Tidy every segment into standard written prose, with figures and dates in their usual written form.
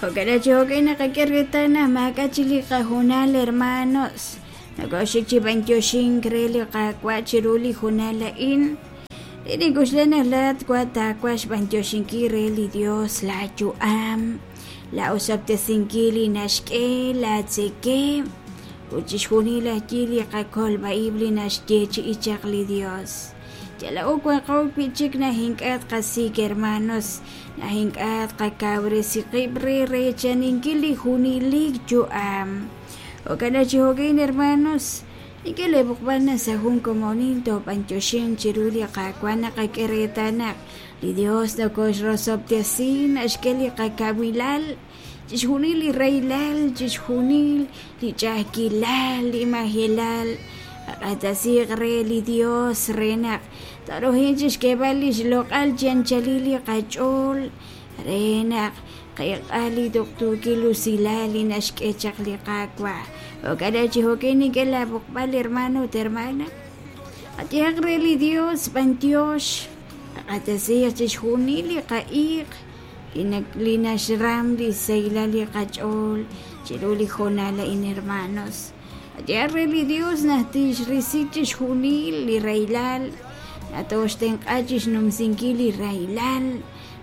Jo'kan chi jo'kan naqak'e reetal naq maak'a' chik li qahoonal hermanos. Nokoxik chi b'antioxink re li Qaawa' chiru li hoonal a'in. Li nink'oxla naq laa'at wa taawaj xb'antioxinkil re li Dios laa yu'am, laa osob'tesinkil li naxk'e, laa tzekemq, ut chixjunil ajwi' li qakolb'a-ib' li naxyeechi'i chaq li Dios. Yal laa'o wanqo wi'chik naq ink'a' tqasik' hermanos, naq ink'a' tqakawresi qib' re reechaninkil li junelik yu'am. Jo'kan naq chi jo'kan hermanos, nink'e lee b'oqb'al naq sa' jun komonil toob'antioxinq chiru li Qaawa' naqak'e reetal naq li Dios nokoxrosob'tesi, naxk'e li qakawilal, chixjunil li rahilal, chixjunil li ch'a'ajkilal, li majelal, qaq'axtesiiq re li Dios re naq tooruhanq chixk'eeb'al lix loq'al chi anchalil li qach'ool, re naq qeek'a li tuqtuukil usilal li naxk'e chaq li Qaawa'. Jo'kan naq chi jo'kan nink'e laa b'oqb'al, hermano ut hermana, qayehaq re li Dios b'antiox, qaq'axtesiiq chixjunil li qa'iiq, li naxram li sahilal li qach'ool chiru li hoonal a'in, hermanos. Qayehaq re li Dios naq tixrisi chixjunil li rahilal, naq tooxtenq'a chixnumsinkil li rahilal,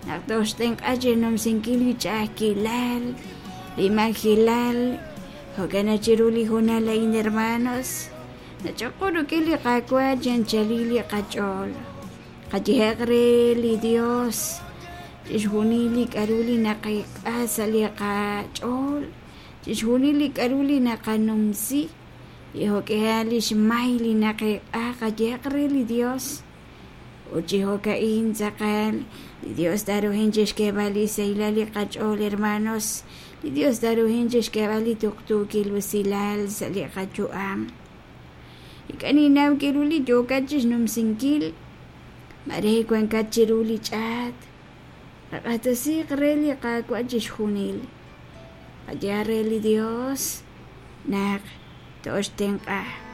naq tooxtenq'a chixnumsinkil li ch'a'ajkilal, li majelal. Jo'kan naq chiru li hoonal a'in, hermanos, nach'oqo rik'in li Qaawa' chi anchalil li qach'ool. Qayehaq re li Dios chixjunil li k'a'ru li naqeek'a sa' li qach'ool, chixjunil li k'a'ru li naqanumsi, li jo'k'ihal lix may li naqeek'a, qayehaq re li Dios. Ut chi jo'ka'in tz'aqal, li Dios taaruhanq chixk'eeb'al li sahilal li qach'ool, hermanos, li Dios taaruhanq chixk'eeb'al li tuqtuukil usilal sa' li qayu'am. Ink'a' ninnaw k'a'ru li yookat chixnumsinkil, maare wankat chiru li ch'aat. Qaq'axtesiiq re li Qaawa' chixjunil. Qayehaq re li Dios naq tooxtenq'a.